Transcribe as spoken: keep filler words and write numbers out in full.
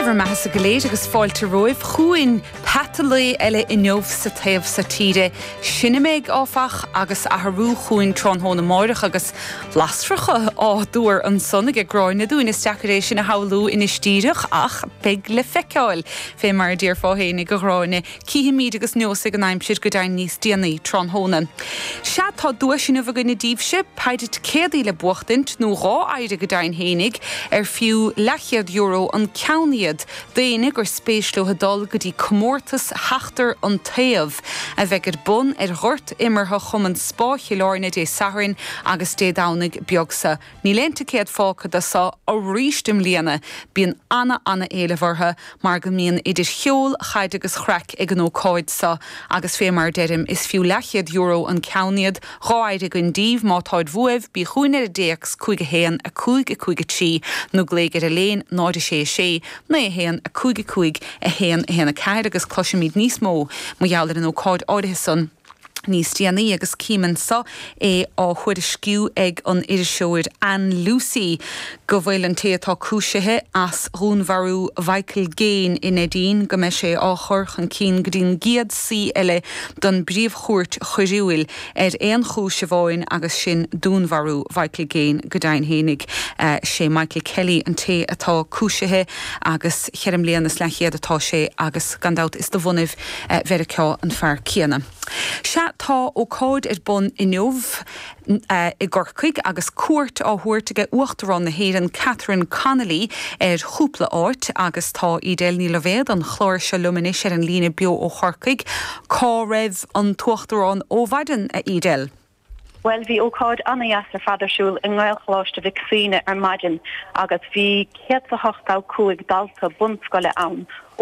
bhur mbeatha go léir agus fáilte romhaibh chugainn peata lae eile inniu sa taobh so tíre. Silimig áfach agus athrú chugainn tráthnóna amárach agus lasracha á dtuar ansan ag Gráinne dúinn is deacair é sin a shamhlú anois díreach ach beidh le feiceáil fé mar a déarfá féinig a Ghráinne cífimid agus neosfaidh an aimsir go deimhin níos déanaí tráthnóna. Sea tá duais inniu againne daoibhse péire ticéadaí le buachtaint nó dhá phéire go deimhin féinig ar fiú leathchéad euro an ceann iad d'éinne gur spéis leo dul go dtí comórtas Sheachtar an Taobh a bheidh ar bun ar ghort imeartha Chumann Spá Chill Airne Dé Sathairn agus Dé Domhnaigh beag so. Níl aon ticéad fágtha de so arís i mbliana bíonn ana ana éileamh orthu mar go mbíonn idir cheol chaid agus chraic ag an ócáid so agus fé mar deirim is fiú leathchéad euro an ceann iad dhá phéire againn daoibh má táid uaibh bí chugainn ar an dtéacs cúig a haon a cúig a cúig a trí nó glaoigh ar an líne náid a sé a sé naoi a haon a cúig a cúig a haon a haon a ceathair agus cloisfimid níos mó mar gheall ar an ócáid áirithe san níos déanaí agus cím anso é á thuairisciú ag an iriseoir Ann Lucy go bhfuil an té atá cúisithe as dhúnmharú Michael Gaine in Neidín go mbeidh sé á chur chun cinn go dtí'n gcéad suí eile don bPríomh-Chúirt Choiriúil ar aon chúis amháin agus sin dúnmharú Michael Gaine go deimhin féinig sé Michael Kelly an té atá cúisithe agus ceithre bliana is leathchéad atá sé agus gan dabht is de bhunadh Mheiriceá an fear céanna. Sea tá ócáid ar bun inniu i gCorcaigh agus cuairt á thabhairt ag Uachtarán na hÉireann Catherine Connolly ar chúpla áit agus tá Edel Ní Loibhéad an chláir seo liom anois ar an líne beo ó Chorcaigh cá raibh an tUachtarán ó mhaidin a Edel. Well bhí ócáid an-deas ar fad ar siúl i nGaelcholáiste Mhic Suibhne ar maidin agus bhí céad a hochtó cúig dalta bunscoile ann.